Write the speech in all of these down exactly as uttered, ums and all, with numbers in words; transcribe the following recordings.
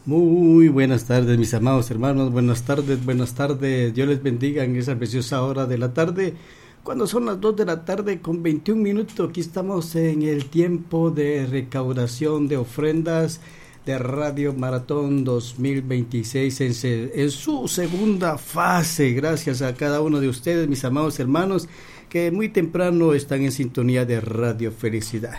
Muy buenas tardes, mis amados hermanos. Buenas tardes, buenas tardes. Dios les bendiga en esa preciosa hora de la tarde. Cuando son las dos de la tarde con veintiún minutos, aquí estamos en el tiempo de recaudación de ofrendas de Radio Maratón dos mil veintiséis en, se, en su segunda fase. Gracias a cada uno de ustedes, mis amados hermanos, que muy temprano están en sintonía de Radio Felicidad.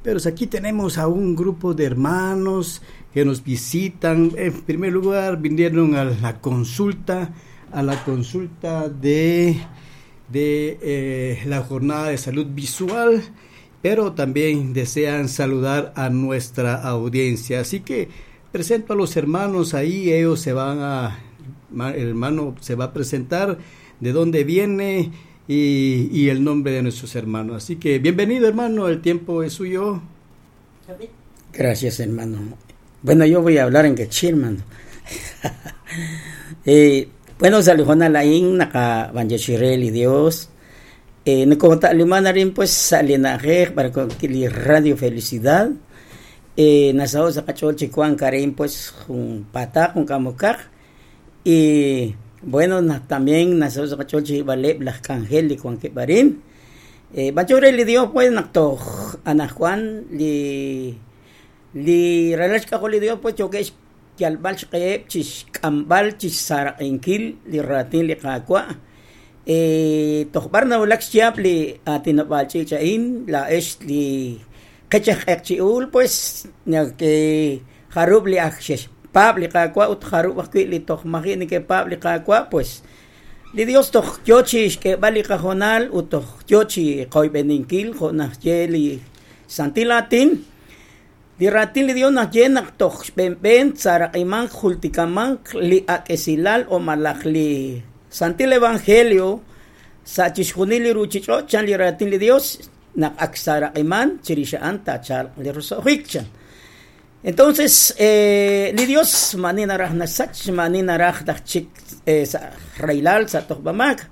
Pero aquí tenemos a un grupo de hermanos que nos visitan. En primer lugar, vinieron a la consulta, a la consulta de, de eh, la jornada de salud visual, pero también desean saludar a nuestra audiencia. Así que presento a los hermanos ahí, ellos se van a, el hermano se va a presentar de dónde viene y, y el nombre de nuestros hermanos. Así que bienvenido, hermano, el tiempo es suyo. Gracias, hermano. Bueno, yo voy a hablar en quechua, hermano. eh, bueno, saludos laing naka banjashirel y Dios. Eh, nagkota lima na rin pues sa linaje para con Radio Felicidad. Eh, nasa sa kachol chikuan karin pues un pata con kamukak. Y bueno, na, también nasa sa kachol chibale las cangel y cuan kebarin. Eh, banjurel y Dios pues nakto anajuan li li relach ka li Dios pues choque yalbal chqeb chis kambal chis saraqinkil li ratin li qaqwa. Eh, tokhbar na ulak chiap li atinabal chichain la esh li qechaq pues que jarub li akshesh pab li qaqwa ut jarub akwi li tokhmaji ni que pab li qaqwa pues li Dios tokh yochi que bali qajonal ut tokh yochi qoybeninkil jonah li santilatin li ratin li Dios na llena tokh ben saraqiman jultikaman li akesilal o malakli Santil Evangelio sa chixjunil li ruchich'o chan li ratin li Dios nak aksaraqiman chirishaan tachal li rusohikchan. Entonces eh, li Dios manina raj nasach manina raj dachik eh, sa railal sa tohbamak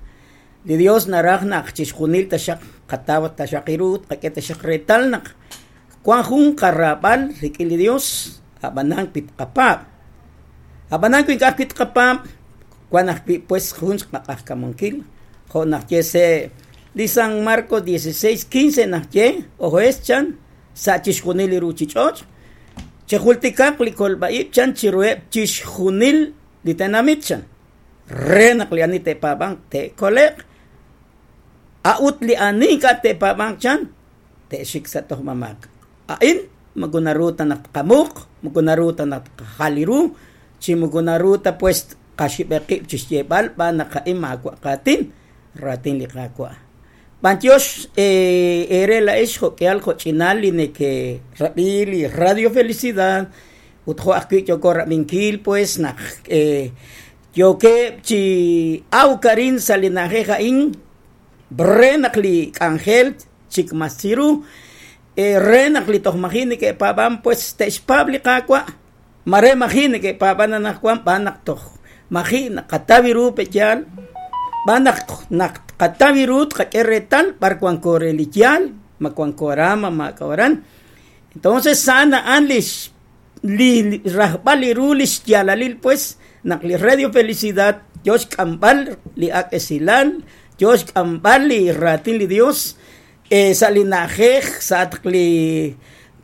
li Dios naraj nak chixjunil tashaq qatawat tashaqirut qak'e tashaq retal nak kuan jun qarrabal rik'in li Dios abanan pitqapab abanan kuinkaj pitqapab cuando pues juntos qaqakamonkil jonah se li San Marcos dieciséis quince najye ojo chan sa chixjunil li ruchich'och chejultikaq li kolba'ib chan chirueb chixjunil li tenamit chan re naq li ani tepaban te koleq a'ut li ani ka tepaban chan te xik sa tojmamak a'in magunaruta naq qamuq magunaruta naq qajaliru chimugunaruta pues qashibeqib chixyebal ba naqa'im maqatin ratin li qaqwa Bantiosh eh ere la esh jokeal jochinal li que rabi Radio Felicidad utjo akwi yoko rabinkil pues naq eh yoke chi awkarin salinaje jain brenaq li angel chikmasiru eh renaq li tojmajini que paban pues techpab li qaqwa mare majini que paban anaqwan banaq toj maji naqatabiru pechal banaq naq qatabirut qak'erretal barcuancorelityal macuancorama macawaran. Entonces sana anlish li rajbaliru lish yalalil pues naq li Radio Felicidad Dios kambal li akesilal Dios kambal li ratin li Dios eh, salinajej satqli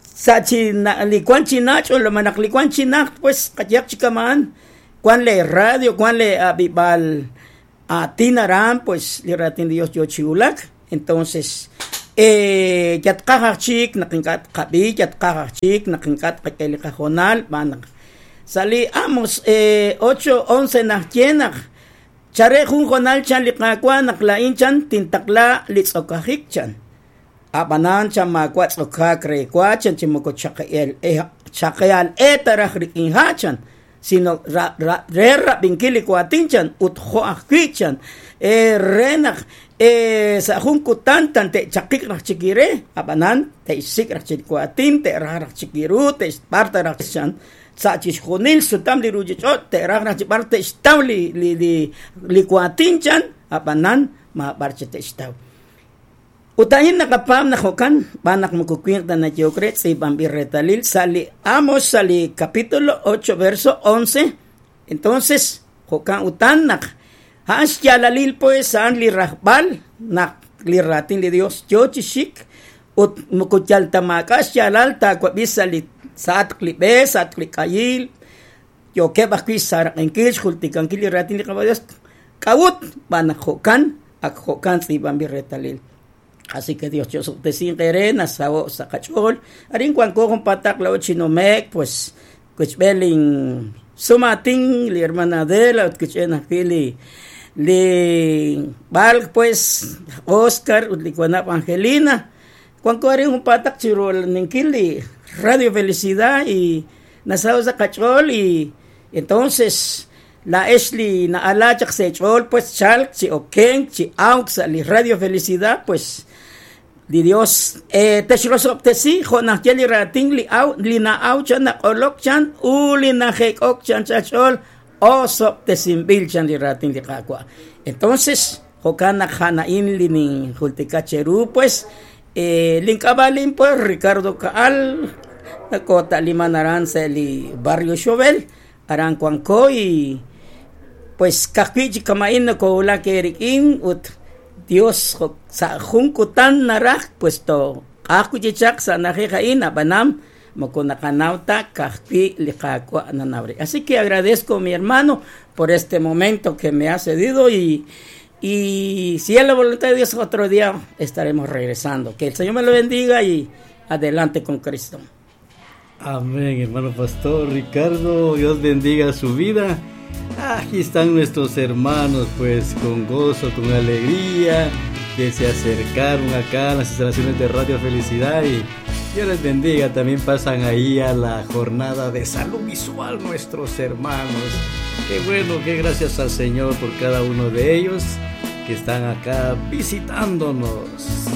sachina li cuanchinach o lo manaq li cuanchinach pues qatyaq chikaman cuan le radio, cuan le abibal atinaran, pues li ratin Dios yo chiulak. Entonces, eh, yatqajachik, naqinkat qabi, yatqajachik, naqinkat qakeliqajonal, banak. Sali amos eh, ocho once najyenak, chare jun jonal chan liqaqua, naqlain chan, tintakla litzokajik chan. Abanan chan makua tzokak requa chan chimoko chaqel, eh, chaqeal etaraj rikinha chan. Sino ra ra re rabinkili kuatinchan utjo ajkichan eh renaj eh sa jun kutantan te chakik raj chikire abanan te isik raj chikuatin te raj raj chikiru te parta raj chan sa chixjunil sutam li ruchich'ot te raj raj chibar te xtaw li li li li kuatinchan abanan ma barche te xtaw. Ut a'in naqapaam naq jo'kan b'an naq moko winq ta nayehok re tz'iib'anb'il reetalil sa' li Amos sa' li capítulo ocho verso once. Entonces jo'kan utan naq a'an xyaalalil pues a'an li rajb'al naq li raatin li Dios yo chi xik ut moko yal ta maak'a' xyaalal taawab'i sa' li sa'atq li b'e sa'atq li k'ayil yookeb' ajwi' xsaraq'inkil xjultikankil li raatin li Qaawa' Dios k'a'ut b'an naq jo'kan ak jo'kan tz'iib'anb'il reetalil. Así que Dios chosobtesin qere nasaho sa qach'ool arin wanko junpataq la chinumek pues kuchb'el sumatin li hermana Adela ut kuch'en ajwi' li li Balk pues Oscar ut li wanab' Angelina wanko arin junpataq chirolninkil li Radio Felicidad y nasaho sa qach'ool y entonces la Esli na ala chaq sa ch'ool pues chalk chi okenk chi awk sa li Radio Felicidad pues di Dios eh texrosobtesi jo' naq ye li raatin li aw li na'aw chan naq'olok chan u li najek'ok chan chach'ool osobtesinb'il chan li raatin li Qaawa'. Entonces jo'kan naq ja'na'in li ninjultika cheru pues eh link'ab'alin pues Ricardo Caal nakota liman aran sa li Barrio Xovel aran wanko y pues kajwi' chi kama'in nakowulak eriq'in ut Dios sa jun kutan naraj pues to q'aj chichaq sa na'ajej a'in ab'anam moko naqanaw ta kajwi' li Qaawa' nanawri. Así que agradezco mi hermano por este momento que me ha cedido y, y si es la voluntad de Dios otro día estaremos regresando. Que el Señor me lo bendiga y adelante con Cristo. Amén, hermano pastor Ricardo, Dios bendiga su vida. Aquí están nuestros hermanos, pues con gozo, con alegría, que se acercaron acá a las instalaciones de Radio Felicidad y Dios les bendiga. También pasan ahí a la jornada de salud visual nuestros hermanos. Qué bueno, qué gracias al Señor por cada uno de ellos que están acá visitándonos.